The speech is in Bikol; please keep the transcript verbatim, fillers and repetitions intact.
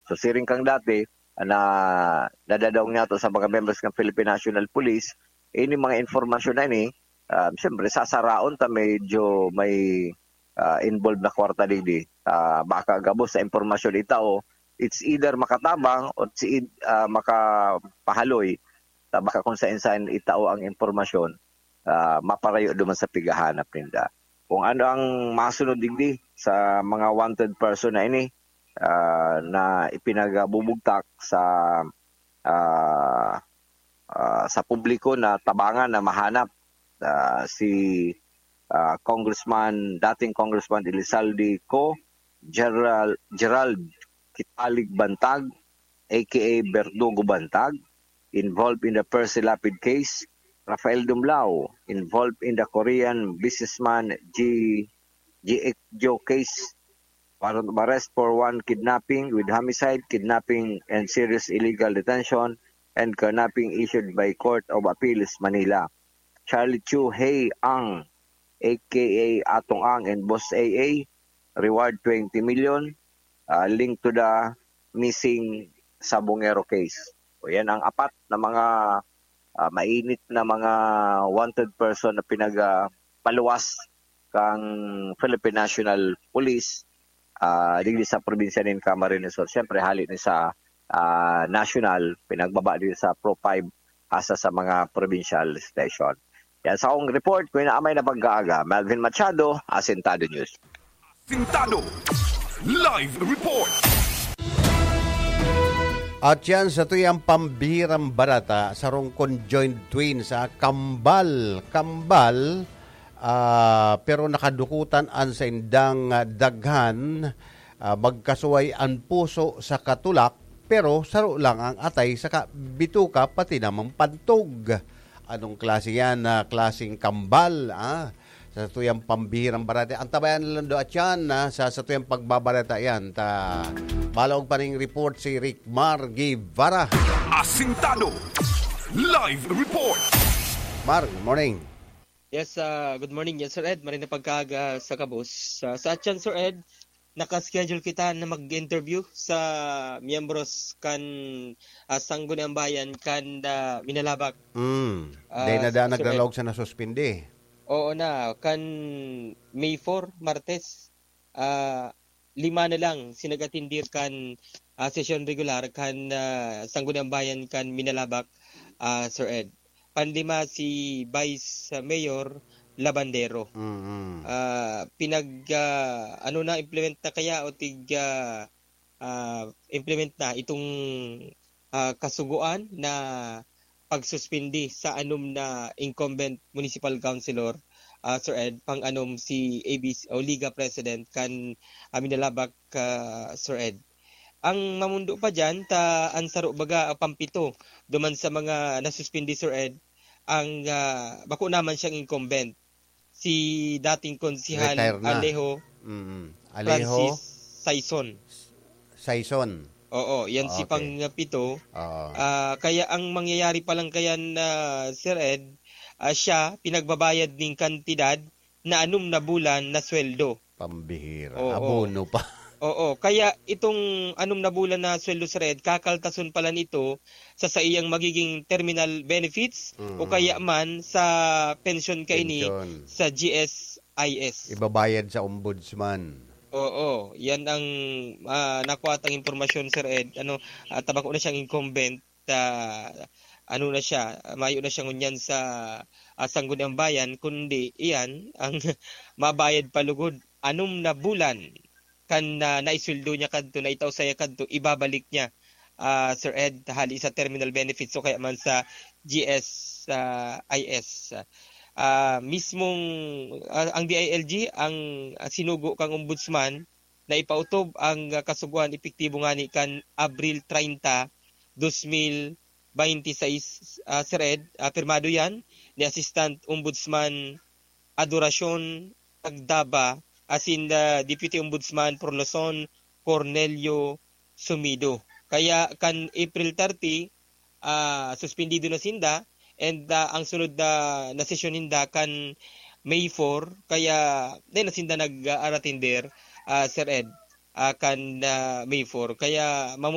So, siring kan dati, na nadadaog niyato sa mga members kan Philippine National Police, ini mga impormasyon na ini, ah, siyempre, sasaraon ta medyo may, ah, involved na kwarta digdi. Ah, baka gabos sa impormasyon itao, it's either makatabang o it's eith-, ah, makapahaloy. Ta baka kung saen-saen itao ang impormasyon, ah, maparayo duman sa pighahanap ninda. Kung ano ang masunod digdi sa mga wanted person na ini, ah, na ipinagbubugtak sa, ah, ah, sa publiko na tabangan na mahanap, ah, si, ah, Congressman, dating Congressman Elizalde Co, Gerald, Gerald Kitalig Bantag, A K A Berdugo Bantag, involved in the Percy Lapid case, Rafael Dumlao, involved in the Korean businessman G, G X Joe case, warrant of arrest for one kidnapping with homicide, kidnapping and serious illegal detention, and kidnapping issued by Court of Appeals, Manila. Charlie Chu Hei Ang, A K A Atong Ang, and Boss A A, reward twenty million, ah, linked to the missing Sabongero case. O yan ang apat na mga, ah, mainit na mga wanted person na pinag, ah, paluwas kang Philippine National Police, ah, digdi sa probinsya nin Camarines Sur. Siyempre, hali ni sa, ah, national, pinagbaba din sa Pro five hasta sa mga provincial station. Yan sa akong report, ko inaamay na pag-aaga. Melvin Machado, Asintado News. Sintado. Live report. At yan, sa tuyang pambihirang barata, sarong conjoined twins, ah, kambal, kambal, ah, pero nakadukutan an saindang, ah, daghan, ah, magkasuway an puso sa katulak, pero saro lang ang atay saka bituka, pati namang pantog. Anong klase yan na klaseng kambal, ah? Sa tuyang pambihirang barata. Antabayan lang do at yan, ah, sa, sa tuyang pagbabarata yan. Ta, balaog pa ning report si Rick Mar Guevara. Asintado. Live report. Mar, good morning. Yes, ah, good morning. Yes, Sir Ed, maray na pagkaaga sa kabos. Sa, sa atyan, Sir Ed, naka-schedule kita na mag-interview sa miyembros kan, ah, Sangguniang Bayan kan, ah, Minalabac. Mm. Ah, Dahil na daan Sir Ed. Naglalaog sa nasuspindi. Oo na, kan May four, Martes, ah, lima na lang si nag-atindir kan, ah, sesyon regular kan, ah, Sangguniang Bayan kan Minalabac, ah, Sir Ed. Panlima si Vice Mayor Labandero. Mm-mm. Ah, pinag, ah, ano na, implement na kaya o tig, ah, ah, implement na itong, ah, kasugoan na pagsuspindi sa anom na incumbent municipal councilor, ah, Sir Ed, pang-anom si A B C o Liga President kan, ah, Minalabac, ah, Sir Ed. Ang mamundo pa diyan, ta an saro baga, ah, pampito duman sa mga nasuspindi, Sir Ed, ang, ah, bako naman siyang incumbent, si dating konsehal Retire na. Alejo Mm. Alejo Francis Saison. Saison. Oo, yan si Okay. pang-pito. Oo. Ah, kaya ang mangyayari pa lang kaya na, Sir Ed, ah, siya pinagbabayad ning kantidad na anom na bulan na sweldo. Pambihira. Oo. Abono pa. Oo, kaya itong anom na bulan na sweldo, Sir Ed, kakaltason pala nito sa saiyang magiging terminal benefits Mm. o kaya man sa pensyon kaini Pensyon. sa G S I S. Ibabayad sa ombudsman. Oo, yan ang, ah, nakuha tang impormasyon, Sir Ed. Ano, ah, tabako na siyang incumbent, ah, ano na siya, mayo na siya ngunyan sa, ah, Sangguniang Bayan, kundi iyan ang mabayad pa lugod anom na bulan kan, ah, naisweldo niya kadto, naitao saiya kadto, ibabalik niya, ah, Sir Ed, hali sa terminal benefits o kaya man sa G S, ah, I S. Ah, mismong, ah, ang D I L G ang, ah, sinugo kang ombudsman na ipautob ang, ah, kasugoan epektibo ngani kan Abril treinta, dos mil binte y seis, ah, Sir Ed. Ah, pirmado yan ni Assistant Ombudsman Adoracion Agdaba asin, ah, Deputy Ombudsman Porloson Cornelio Sumido. Kaya kan April thirty, ah, suspendido na sinda, and, ah, ang sunod na, na sesyon ninda kan May four, kaya dai na sinda nag-aratender, ah, Sir Ed, ah, kan, ah, May four. Kaya